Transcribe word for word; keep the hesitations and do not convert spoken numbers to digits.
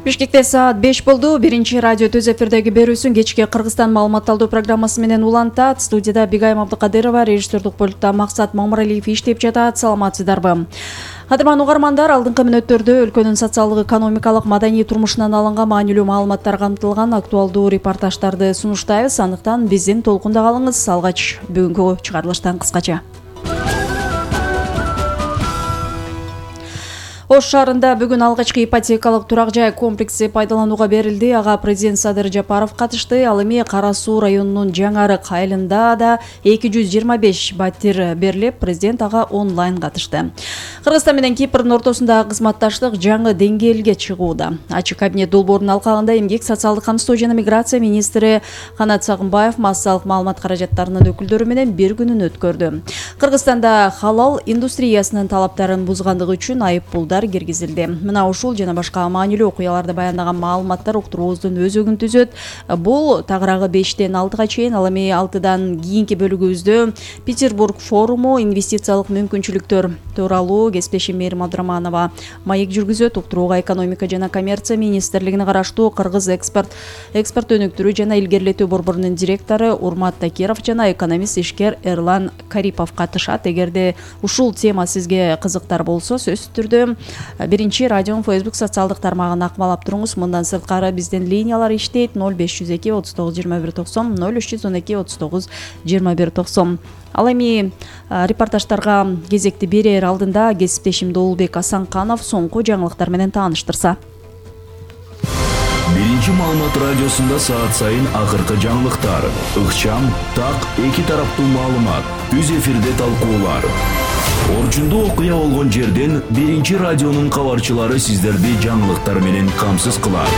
Бишкекте саат беш болду. Биринчи радио төз эфирдеги берүүсүн кечки Кыргызстан маалыматталдуу программасы менен улантат. Студияда Бигайым Абдыкадырова, режиссердик пультта Максат Мамыралиев иштеп жатат. Саламатсыздарбы? Кадырман угармандар, алдыңкы мүнөттөрдө өлкөнүн социалдык, экономикалык, маданий турмушунан алынган маанилүү маалыматтар камтылган актуалдуу репортаждарды сунуштайбыз. Андыктан биздин толкунда калыңыз. Алгач бүгүнкү чыгарылыштан кыскача. Ош шаарында бүгүн алгачкы ипотекалык турак жай комплекси пайдаланууга берилди. Ага президент Садыр Жапаров катышты. Ал эми Кара Суу районунун Жаңарык айылында да эки жүз жыйырма беш батир берилип, президент ага онлайн катышты. Кыргызстан менен Кипрдин ортосундагы кызматташтык жаңы деңгээлге чыгууда. Ачык кабинет долбоорунун алкагында эмгек, социалдык камсыздоо жана миграция министри Канат Сагынбаев массалык маалымат каражаттарынын өкүлдөрү менен бир күнүн өткөрдү. Кыргызстанда халал индустриясынын талаптарын бузгандыгы үчүн айыппулдар киргизилди. Мына ушул жана башка маанилүү окуяларды баяндаган маалыматтар уктуруубуздун өзөгүн түзөт. Бул тагыраагы бештен алтыга чейин, ал эми алтыдан кийинки бөлүгүбүздө Петербург форуму, инвестициялык мүмкүнчүлүктөр тууралуу кесиптешим Мээрим Абдыраманова маек жүргүзөт. Уктурууга экономика жана коммерция министрлигине караштуу Кыргыз экспорт экспорт өнүктүрүү жана илгерилетүү борборунун директору Урмат Такиров жана экономист ишкер Эрлан Карипов катышат. Эгерде ушул тема сизге кызыктар болсо, сөзсүз түрдө биринчи радионун Facebook социалдык тармагын акмалап туруңуз. Мындан сырткары биздин линиялар иштейт: ноль беш жүз эки отуз тогуз жыйырма бир токсон, ноль үч жүз он эки отуз тогуз жыйырма бир токсон. Ал эми репортаждарга кезекти берер алдында кесиптешим Доолбек Асанканов соңку жаңылыктар менен тааныштырса. Биринчи маалымат радиосунда саат сайын акыркы жаңылыктар, ыкчам, так, эки тараптуу маалымат, түз эфирде талкуулар. Орчундуу окуя болгон жерден биринчи радионун кабарчылары сиздерди жаңылыктар менен камсыз кылат.